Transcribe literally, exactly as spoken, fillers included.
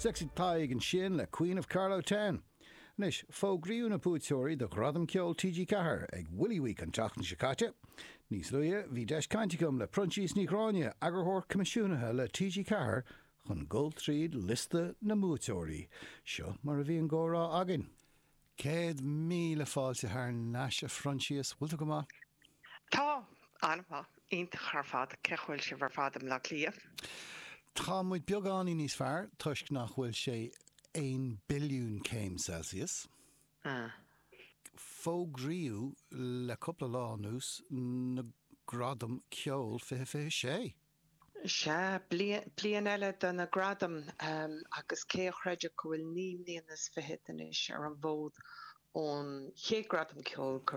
Sexy Tadhg ansin le Queen of Carlow Town. Anois, fógraíodh na buaiteoirí do Ghradam Ceoil TG Ceathair ag Willy Week an tseachtain seo caite. Níos luaithe, bhí deis cainte agam le Proinsias Ní Ghráinne, eagarthóir coimisiúnaithe le TG Ceathair, chun dul tríd liosta na mbuaiteoirí. Seo mar a bhí an comhrá againn. Céad míle fáilte thar n-ais a Phroinsias, bhfuil tú go maith? Tá an-mhaith iontach ar fad cén chaoi a bhfuil sibh ar fad i mBleá Cliath. Tá muid beagáinín níos fearr toisc nach bhfuil sé aon billiún céim Celsius. Ah. Fógraíodh le cúpla lá anuas na Gradaim Ceoil fiche fiche sé. Sea, bliain eile de na gradaim agus cé a chreidfeadh go bhfuil naoi mbliana is fichead anois ar an bhfód ón chéad Gradam Ceoil go